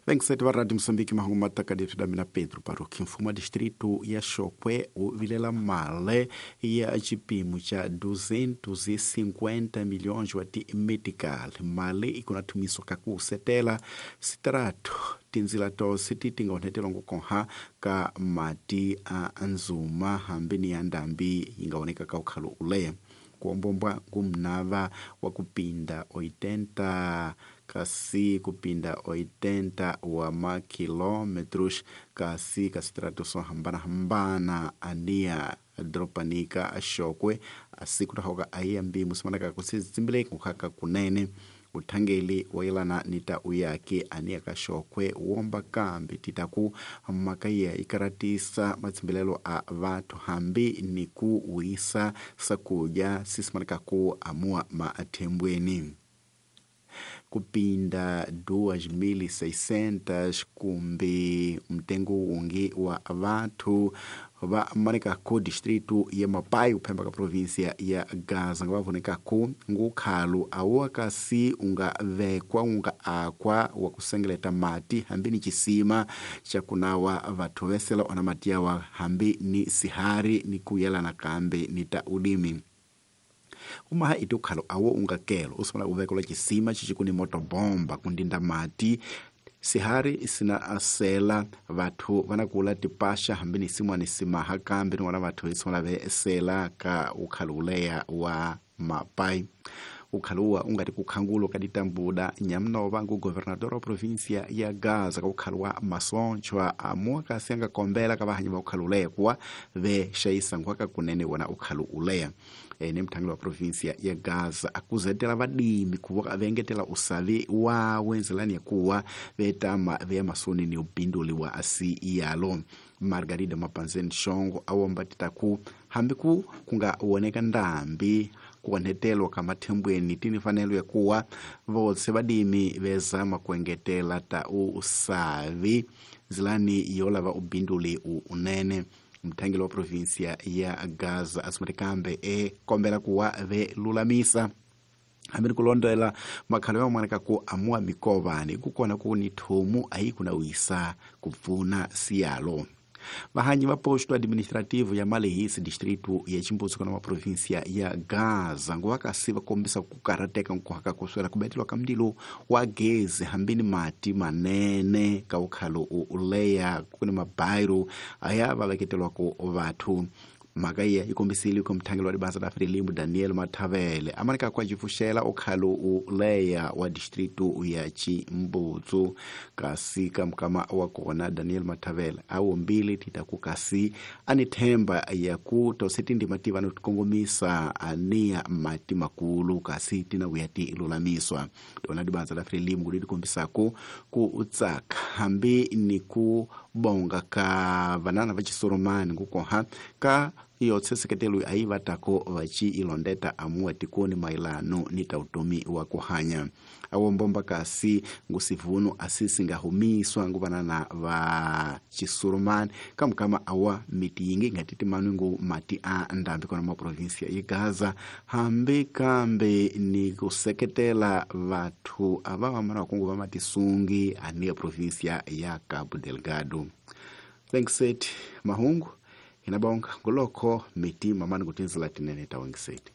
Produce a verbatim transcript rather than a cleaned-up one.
Vengiseti va Radio Moçambique mahungu matakadethu da mina Pedro Baruch. Mfumo wa distrito ya Chokwe wu vilela mali ya xipimo xa duzentos e cinquenta milhões wa ti-medical. Mali i kuna thumiswa ka ku setela sitrato tindzila tose ti ti nga onhetela ngokhoha ka mati a nzuma hambi ni ya ndhambi yi nga oneka ka ukhalo uleya. Kuombombwa ngumnava wa kupinda oitenta kasi kupinda oitenta wa makilometros kasi ka sitrato swo hambanahambana ania dropanika Xokwe asiku tahoka aiya mbimu simanaka kusizimbile kukhaka kunene. Uthangeli wayelana ni ta uyaki ania ka Xokwe womba kambi titaku makaya ikaratisa matshimbilelo a vathu hambi ni ku wisa sakudya sisimanaka ku amua maathembweni. Kupinda duas mil e seiscentas kumbe mtengo wungi wa vathu va maneka ku distrito ya Mapai uphemba ka província ya Gaza nga va voneka ku ngukhalu awu kasi unga vekwa unga akwa wa kusengeleta mati hambi ni chisima xa kunawa vathu vesela ona mati yawa hambi ni sihari ni kuyelana kambe ni ta ulimi. Umaha iti ukhalo awo ungakelo usumala uvekelwa chisima xixikuni motobomba kundinda mati sihari sina asela vathu vana kula tipasha hambi ni simwani simaha kambe ni wana vathu isumala ve sela ka ukhalo uleya wa Mapai. Ukhaluwa ungati kukhangulo ka ditambuda nyamnova ngu governador wa província ya Gaza ka ukhalo wa Masonchwa amua kasi anga kombela ka vahanyi va ukhalo uleya kuwa ve xayisa nkhwaka kunene wona ukhalo uleya. E, ni mthangeli wa província ya Gaza akuzetela vadimi kuva vengetela usavi wa wenzelani ya kuwa vetama veya masoni ni ubinduli wa asi yalo. Margarida Mapanzeni Shongo awomba titaku hambi ku kunga woneka ndambi kuonhetelwa ka mathembweni tini fanelo ya kuwa votse vadimi vezama kuengetela ta usavi nzilani yolava ubinduli unene. Mthangeli wa província ya Gaza asumati kambe e kombela kuwa ve lulamisa hambi ni kulondela makhalo ya maneka ku amua mikovani kukona ku ni thomu ayi kuna wisa kupfuna siyalo. Vahanyi va posto administrativo ya Malehisi distrito ya Chimbutsu kana província ya Gaza nguva kasi va kombisa ku karateka nkuhaka kuswela kubetelwa ka mndilo wa gezi hambi ni mati manene ka ukhalo uleya kuni mabairo aya va veketelwa ku vathu. Mhaka iya yi kombisile ku mthangeli wa dibasa la Frelimo Daniel Mathavele amaneka kwa jifuxela ukhalo uleya wa distrito ya Chimbutsu kasi ka mukama wa kona Daniel Mathavele a wombile tita ku kasi ani themba ya ku tose tindima ti vanhu tikongomisa ania mati makulu kasi tina vuya ti lulamiswa. Tona dibasa la Frelimo ku kombisako ku utsaka hambi ni ku bonga ka vanana va Chisoromani ngukoha ka iyo tseseketelo ayi vatako vachi ilondeta amua tikoni mailano ni tautomi wa kuhanya. Awo mbomba kasi ngusivuno asisi ngahumiswa nguvanana va Chisurumani kamukama awa miti yingi ngatiti manungu mati a ndambi kona ma província ya Gaza hambi kambe ni kuseketela vathu ava vamana kungu va matisungi ania província ya Cabo Delgado. Thanks it mahungu inabonga nguloko miti mamani kutinzila tinene tawangiseti.